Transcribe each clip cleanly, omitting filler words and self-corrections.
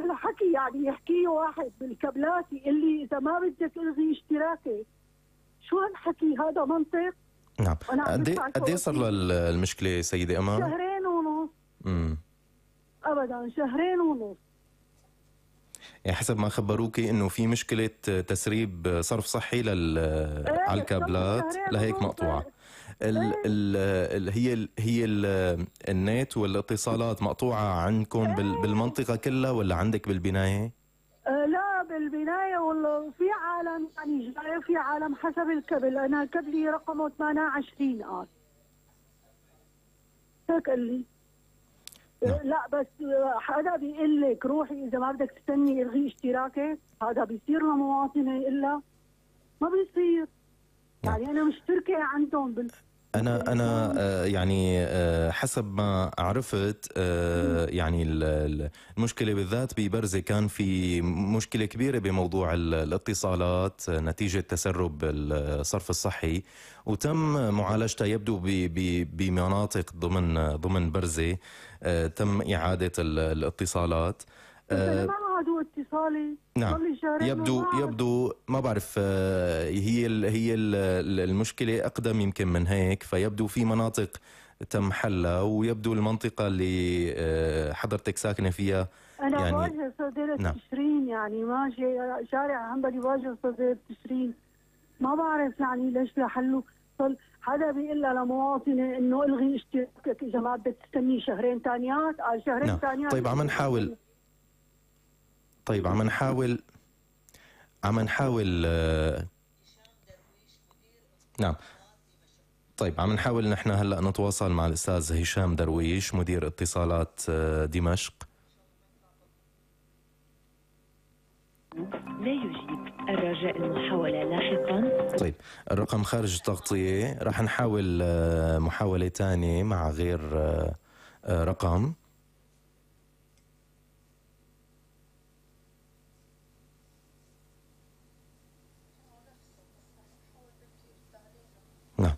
هالحكي يعني يحكيه واحد بالكابلات يقول لي اذا ما بدك الغي اشتراكي، شو هالحكي؟ هذا منطق؟ نعم. قد ايه صار لها المشكله سيده امان؟ 2.5 شهر. ابدا 2.5 شهر. يعني حسب ما خبروكي انه في مشكله تسريب صرف صحي على الكابلات لهيك مقطوعه. هي النت والاتصالات مقطوعه عندكم بالمنطقه كلها ولا عندك بالبنايه؟ لا بالبنايه، والله في عالم يعني جاي، في عالم حسب الكبل. انا كبلي رقمه 28 قال هيك قال لي. لا بس حدا بيقول لك روحي اذا ما بدك تستني الغي اشتراكك، هذا بيصير لمواطنه الا ما بيصير. يعني انا مشتركه عندهم أنا يعني حسب ما عرفت يعني المشكلة بالذات ببرزة كان في مشكلة كبيرة بموضوع الاتصالات نتيجة تسرب الصرف الصحي، وتم معالجتها يبدو بمناطق ضمن برزة. تم إعادة الاتصالات. ما عادوا اتصالي. نعم. يبدو ما بعرف. هي المشكلة أقدم يمكن من هيك، فيبدو في مناطق تم حلها، ويبدو المنطقة اللي حضرتك ساكنة فيها أنا يعني واجهة صديرة نعم. تشرين، يعني ماشي شارع عنبري واجهة صديرة تشرين. ما بعرف يعني ليش لحلوا. حدا بيقول لمواطنة إنه الغي اشتراكك إذا ما بدك تستني شهرين ثانيات. قال شهرين نعم. ثانيات. طيب عم نحاول نعم. طيب عم نحاول نحن هلا نتواصل مع الأستاذ هشام درويش مدير اتصالات دمشق. لا يجيب، الرجاء المحاولة لاحقا. طيب الرقم خارج التغطية، رح نحاول محاولة تانية مع غير رقم. نعم.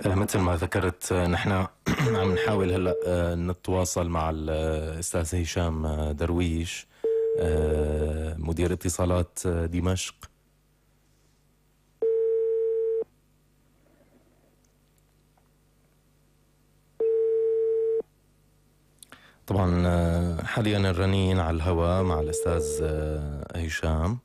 مثل ما ذكرت نحن عم نحاول هلا نتواصل مع الأستاذ هشام درويش مدير اتصالات دمشق. طبعا حاليا الرنين على الهواء مع الأستاذ هشام.